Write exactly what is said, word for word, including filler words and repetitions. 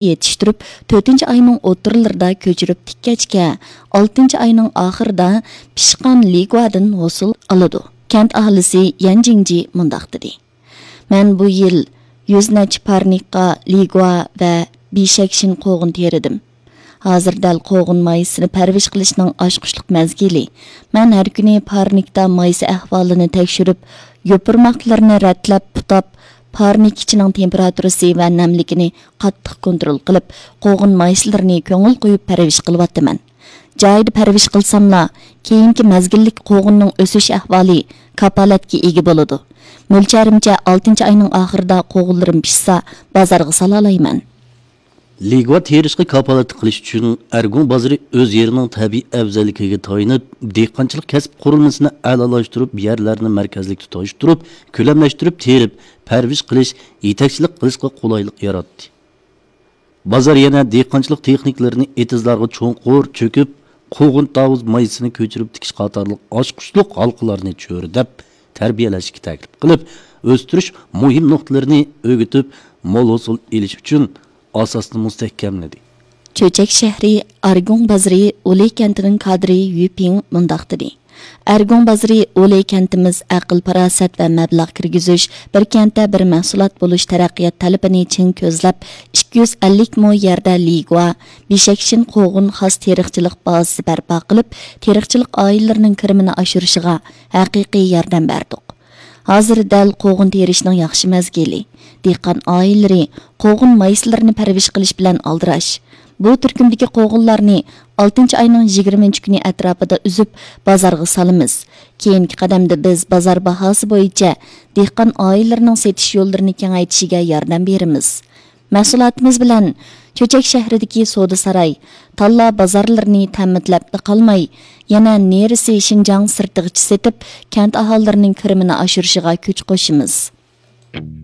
يېتىشتۈرۈپ، تۆتىنچى ئاينىڭ ئوتتۇرىلىرىدا كۆچۈرۈپ تىككەچكە، ئالتىنچى ئاينىڭ ئاخىرىدا پىشقان لىگۇادىن ھوسۇل ئالىدۇ. كەنت ئاھالىسى يەن جىڭجى مۇنداق دېدى: مەن بۇ يىل يۈز نەچچە پارنىكقا لىگۇا ۋە بىشەكشىن قوغۇن تېرىدىم. ھازىر دەل قوغۇن مايسىسىنى پەرۋىش قىلىشنىڭ ئاچقۇچلۇق مەزگىلى. مەن ھەر كۈنى پارنىكتا مايسا ئەھۋالىنى تەكشۈرۈپ، يوپۇرماقلىرىنى رەتلەپ، پۇتاپ، پارنىك ئىچىنىڭ تېمپېراتۇرىسى ۋە نەملىكىنى قاتتىق كونترول قىلىپ، قوغۇن مايسىلىرىنى كۆڭۈل قويۇپ پەرۋىش قىلىۋاتىمەن. جايىدا پەرۋىش قىلساملا، كېيىنكى مەزگىللىك قوغۇننىڭ ئۆسۈش ئەھۋالى كاپالەتكە ئىگە بولىدۇ. مۆلچەرىمچە، ئالتىنچى ئاينىڭ ئاخىرىدا قوغۇنلىرىم پىشسا، بازارغا سالالايمەن. لىگۇا تېرىشقا كاپالەتلىك قىلىش ئۈچۈن، ئەرگۇڭ بازىرى ئۆز يېرىنىڭ تەبىئىي ئەۋزەللىكىگە تايىنىپ، دېھقانچىلىق كەسىپ قۇرۇلمىسىنى ئەلالاشتۇرۇپ، يەرلەرنى مەركەزلىك تۇتاشتۇرۇپ، كۆلەملەشتۈرۈپ تېرىپ، پەرۋىش قىلىش، يېتەكچىلىك قىلىشقا قولايلىق ياراتتى. بازار يەنە دېھقانچىلىق تېخنىكىلىرىنى ئېتىزلارغا چوڭقۇر چۆكۈپ، قوغۇن تاۋۇز مايسىسىنى كۆچۈرۈپ تىكىش قاتارلىق ئاچقۇچلۇق ھالقىلارنى چۆرىدەپ، تەربىيەلەشكە تەكلىپ قىلىپ، ئۆستۈرۈش مۇھىم نۇقتىلىرىنى ئۆگىتىپ، مول ھوسۇل ئېلىش ئۈچۈن ئاساسنى مۇستەھكەملىدى. چۆچەك شەھىرى ئارگۇڭ بازىرى ئۇلى كەنتىنىڭ كادىرى يۈ پىڭ مۇنداق دېدى: ئەرگۇڭ بازىرى ئۇلى كەنتىمىز ئەقىل-پاراسەت ۋە مەبلەغ كىرگۈزۈش، بىر كەنتتە بىر مەھسۇلات بولۇش تەرەققىيات تەلىپىنى چىڭ كۆزلەپ، ئىككى يۈز ئەللىك مو يەردە لىگۇا، بىشەكشىن قوغۇن خاس تېرىقچىلىق بازىسى بەرپا قىلىپ، تېرىقچىلىق ئائىلىلىرىنىڭ كىرىمىنى ئاشۇرۇشىغا ھەقىقىي ياردەم بەردۇق. ھازىر دەل قوغۇن تېرىشنىڭ ياخشى مەزگىلى. دېھقان ئائىلىلىرى قوغۇن مايسىلىرىنى پەرۋىش قىلىش بىلەن ئالدىراش. بۇ تۈركۈمدىكى قوغۇنلارنى ئالتىنچى ئاينىڭ يىگىرمىنچى كۈنى ئەتراپىدا ئۈزۈپ، بازارغا سالىمىز. كېيىنكى قەدەمدە بىز بازار باھاسى بويىچە دېھقان ئائىلىلىرىنىڭ سېتىش يوللىرىنى كېڭەيتىشىگە ياردەم بېرىمىز. مەھسۇلاتىمىز بىلەن چۆچەك شەھىرىدىكى سودا ساراي، تاللا بازارلىرىنى تەمىنلەپلا قالماي، يەنە نېرىسى شىنجاڭ سىرتىغىچە سېتىپ، كەنت ئاھالىلىرىنىڭ كىرىمىنى ئاشۇرۇشىغا كۈچ قوشىمىز.